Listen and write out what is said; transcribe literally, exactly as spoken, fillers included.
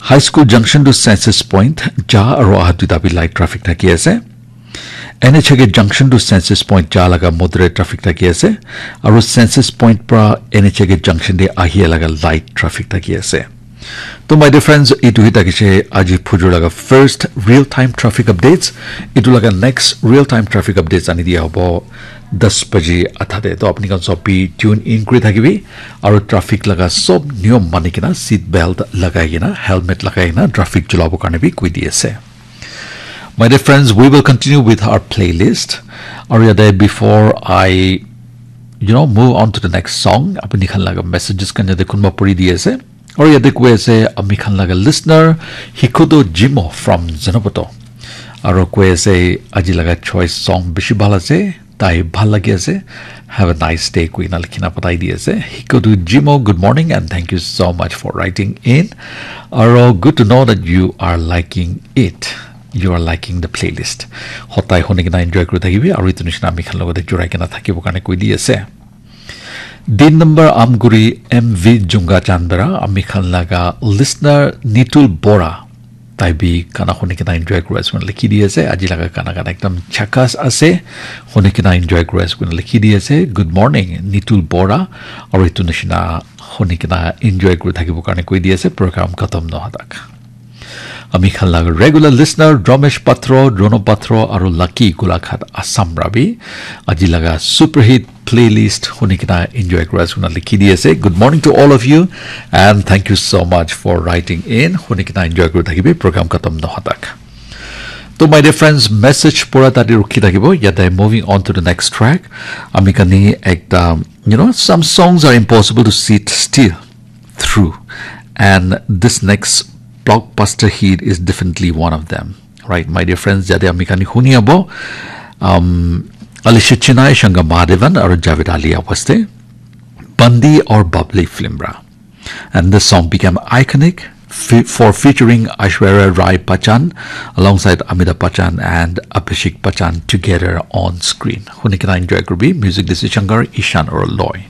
High School Junction to Census Point ja aro aha duita bi light traffic thaki ase. N H A K Junction to Census Point ja laga moderate traffic thaki ase. Aro Census Point pra N H A K Junction de ahi laga light traffic thaki ase. To my dear friends, itu hi thakise aji phujur laga first real time traffic updates. Itu laga next real time traffic updates ani dia hobo das baji athade. To apni khan sob bi tune in kuri thakibi. Aro traffic laga sob niyom mani kena, seat belt lagai kena, helmet lagai kena traffic chulabo karne bi koi di ase. My dear friends, we will continue with our playlist. Aro yate before I, you know, move on to the next song, apni khan laga messages khan yate kunba puri di ase. Aro yate koi ase, ami khan laga listener, Hikoto Jimo from Zenoboto. Aro koi ase, aji laga choice song bishi bhal ase, tai bhal lagi ase. Have a nice day, koi na likhina patai di ase. Hikoto Jimo, good morning and thank you so much for writing in. Aro good to know that you are liking it. You are liking the playlist. Hotai hone kena enjoy kuri thakibi, aro itu nishina ami khan logote jurai kena thakibo karne koi di ase. Din number Amguri M V Junga Chandra, ami khan laga listener Nitul Bora. Tai bi gana huni kena enjoy kuri ase koina likhi di ase. Aji laga gana gana ekdam chakas ase. Huni kena enjoy kuri ase koina likhi di ase. Good morning, Nitul Bora. Aro itu nishina huni kena enjoy kuri thakibo karne koi di ase. Program khatam noha tak. Ami khan laga regular listener, Dromesh Patro, Drono Patro, aro Lucky Golaghat Assam ra bi. Aji laga superhit playlist huni kena enjoy kuri ase koina likhi di ase. Good morning to all of you and thank you so much for writing in. Huni kena enjoy kuri thakibi program khatam noha tak. To my dear friends, message pura tadi rukhi thakibo. Yate moving on to the next track. Ami kani ekta, you know, some songs are impossible to sit still through. And this next blockbuster hit is definitely one of them. Right, my dear friends, yate ami kani huni abo, um, Alisha Chennai, Shankar Mahadevan, aro Javed Ali awaste, Bandi aur Babli film ra. And this song became iconic fi- for featuring Aishwarya Rai Bachchan alongside Amitabh Bachchan and Abhishek Bachchan together on screen. Huni kena enjoy kuri bi, music this is Shankar, Ishan or Loy.